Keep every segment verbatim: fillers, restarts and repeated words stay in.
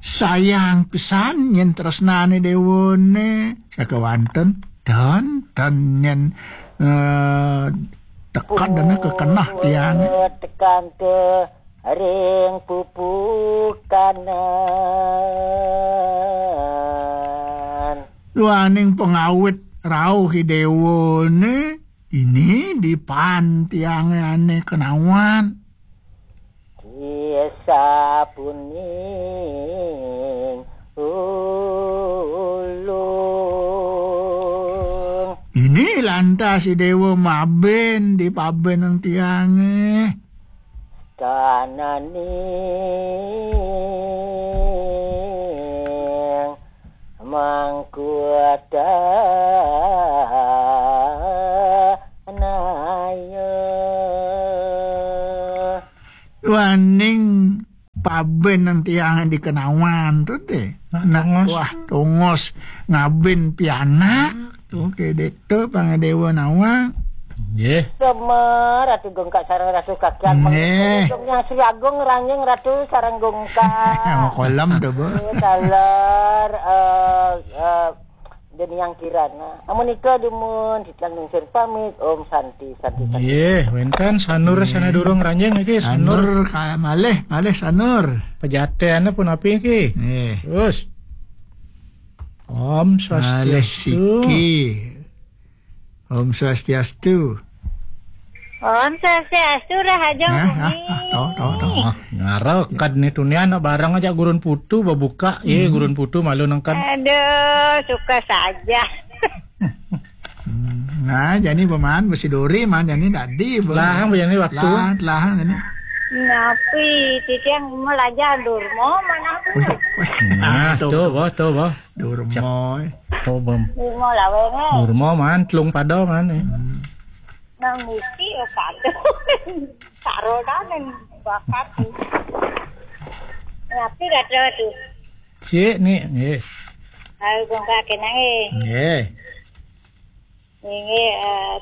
Sayang pisan yén tresnané déwané sakéwanten, dan, dan yén, eh, teka dana kekenah tiangé. Tekan ke ring pupukanan. Duaning pangawit rauh i déwané, ini dipan tiangé ané kenawan. Kisah puning ulung. Ini lantas i déwa mabin di pabin tiangé. Kananing mangkuatanaya. Duaning pabin tiangé dikenawan to dé. Nak tongos. Wah, tongos ngabin pianak. Oké, dé to pangdéwa nawang. Nggih. Semar Ratu Gungkak sareng Ratu Kakian. Nggih. Panggih Sri Agung Ranjing Ratu sareng Gungkak. Mau kolam to, Bu. Taler, eh, eh, Deniang Kirana. Amun nika dumun, titiang nuncun pamit. Om Santi, Santi, Santi. Nggih, wénten Sanur. Nggih. Sané durung Ranjing niki, Sanur. Sanur, ka-, malih, malih Sanur. Pejatéané punapi niki? Nggih. Terus. Om Malih Swastiastu. Siki. Om Swastiastu. Om Swastiastu, Rahajeng. Nah, ah, ah, toh, toh, toh. Ah, ngarah kad nih tunian bareng aja gurun putu babuka. Iya, hmm, gurun putu malu nengkad. Aduh, suka saja. Hmm, nah, jani paman besi dori man jani tadi. Lah, jani waktu. Lah, lah, jani. Napi, titiang melajar durmo mana? Wih, wih. Nah, tuh, tuh, boh, tuh, boh. Durmo. Tuh, bom. Durmo lawengé. Durmo man, telung pada man, eh. Hmm. Nang misi, oh, pada. Taruh dah, nang bakat. Napi kata tuh? Cik, nih, nggih. Ayo, Gungkak kenang, eh. Nggih. Ini, eh,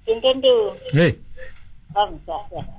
pinten tu. Hei. Om Swastiastu.